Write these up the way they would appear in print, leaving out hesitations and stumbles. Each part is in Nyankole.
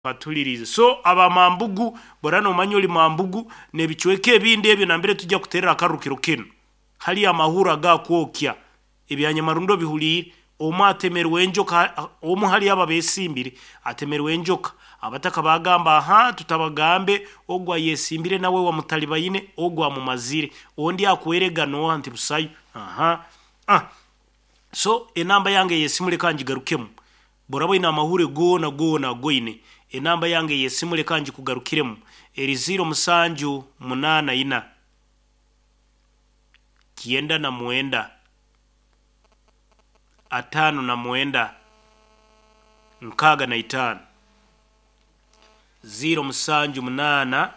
Batulirize so aba Mambugu bora nomanya oli Mambugu n'ebicweka ebindi ebyo nambere tujja kuterera akarukiro kinu hali amahuri agakwokya ebyanyamarundo bihuliire omwe atemerwe enjoka omu hali abo abesimbire atemerwe enjoka abataka bagamba aha tutabagambe ogu ayesimbire nawe wamutalibaine ogu amumazire ondi akwerega noha nti busayo aha ah. So enamba yange ey'esimu leka ngigarukemu boraba oine amahure goona goona agoine enamba yange ey'esimu leka ngikugarukiremu eri 07 84 99 59 65 07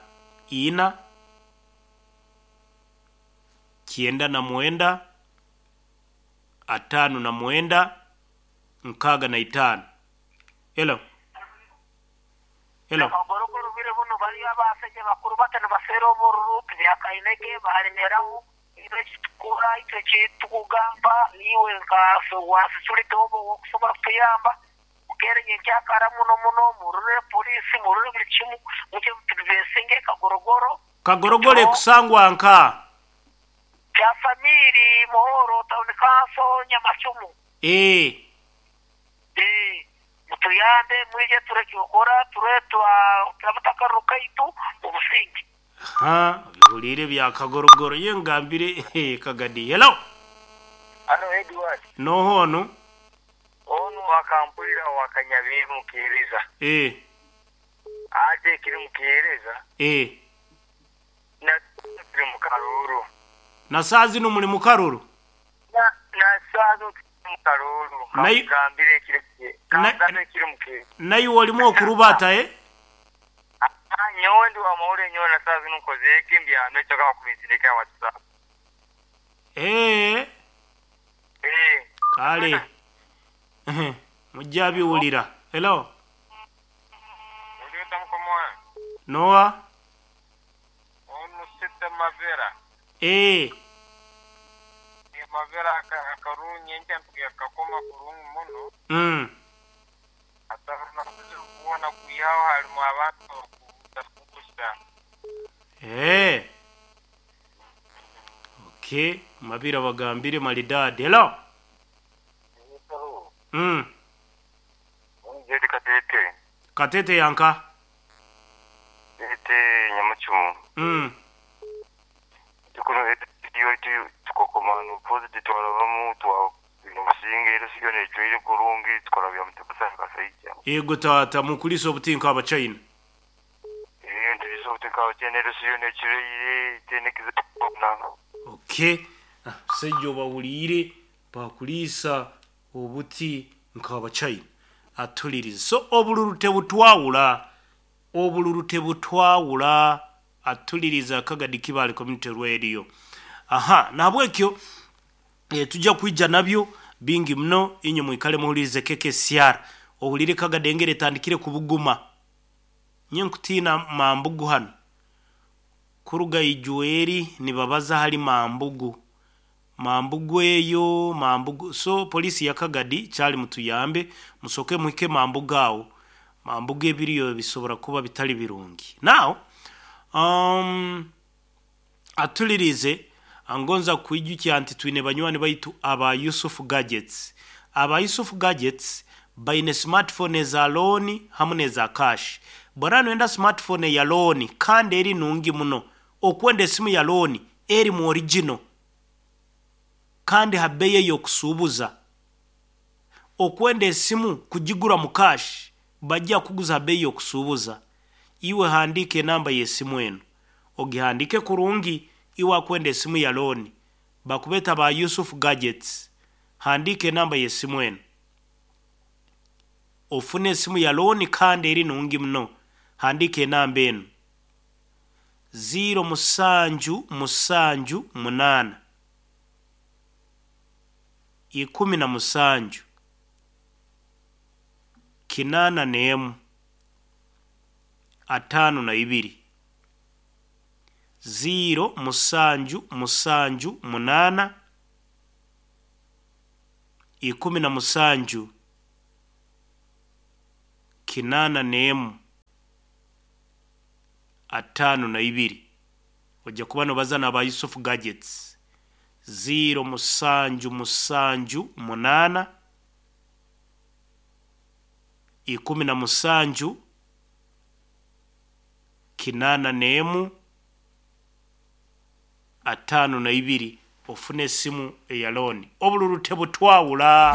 84 99 59 65. Hello. Hello. Akagorogoro bire buno bariyo abasajja bakuru bata nibaseera obururu tibyakainege balemeraho itwe ekitukora itwe ekitukugamba niiwe nka wasicurite oba okusobola kutuyamba mukeere nyenkyakara muno muno murure poliisi murure buli kimu mukye tubesinge kagorogoro. Kagorogoro ekusangwa nka Kyasamiri Muhoro Town Council Nyamacumu. Ee. Ee, mutuyambe mwije tureke okora ture turabata akaruru kaitu mu businge. Ha, bihuliire bya kagorogoro ye ngambire eh, kagadi. Hello. Hano Edward. Noho onu? Onu akampulira wakanyabiru mukihereza. Ee. Ate kiri mukihereza. Ee. Na turi mu karuru. Na saa zino muli mu karuru? Na na saa zino turi mu karuru. Kangambire kiri kangambire kiri mukihereza. Naiwe olimu okurubata eh? Ah, nyowe ndi wa mahoro nyowe na saa zino nkoze eki mbyame ekyo kabakubinsindika WhatsApp. Ee. Ee. Kale. Mujja biwulira. Hello. Uliota mkomoa. Noa. Onu sita mavera. Ee. Mavera akarungi encha kakoma kurungi muno. Ataruna kuona kuyaho halimu abantu bakugusa. Ee. Okay, mabira bagambire maridadi. Hello. Jedi Katete. Katete yanka. Tete Nyamuchumu. Tukuno iyo tukokomano pozi twalabamu twa bino businge era siyo necwire kurungi tukora bya mutebasa kasaija. Yego tata mukulisa obutinka abachina. Eh ndiriso obutinka abachina era siyo necwire tenekize na. Okay. Sejjo bawulire bakulisa obuti nk'abachina. Atuliriza. So obululu tebutwawula. Obululu tebutwawula. Atuliriza Kagadi Kibaale Community Radio. Aha, nahabwekyo tujja kwija nabyo bingi muno inye mwikale muhulirize KKCR. Ohulire Kagadi engeri etandikire kubuguma. Nye nkutiina Mambugu hano. Kuruga Ijueri nibabaza hali Mambugu. Mambugu eyo, Mambugu. So polisi ya Kagadi kyali mutuyambe musoke muhike Mambugu awo. Mambugu ebiriyo bisobora kuba bitali birungi. Now atulirize angonza kwijukya nti twine banywani baitu aba Yusuf Gadgets. Aba Yusuf Gadgets baine smartphone za loan hamwe neza cash. Bora nwenda smartphone ya loan kandi eri nungi muno. Okwenda esimu ya loan eri mu original kandi habeye yokusubuza. Okwenda esimu kujigura mu cash bajja kuguza habeye yokusubuza. Iwe handike namba y'esimu eno. Ogihandike kurungi iwe akwenda esimu ya loan. Bakubeta ba Yusuf Gadgets. Handike namba y'esimu eno. Ofune esimu ya loan kandi eri nungi muno. Handike enamba eno. 0 7 7 8 17 81 52 0 7 7 8 17 81. 52. Ojja kuba nobaza n'aba Yusuf Gadgets. 0778 17 81 52 ofune esimu eya looni. Obululu tebutwawula.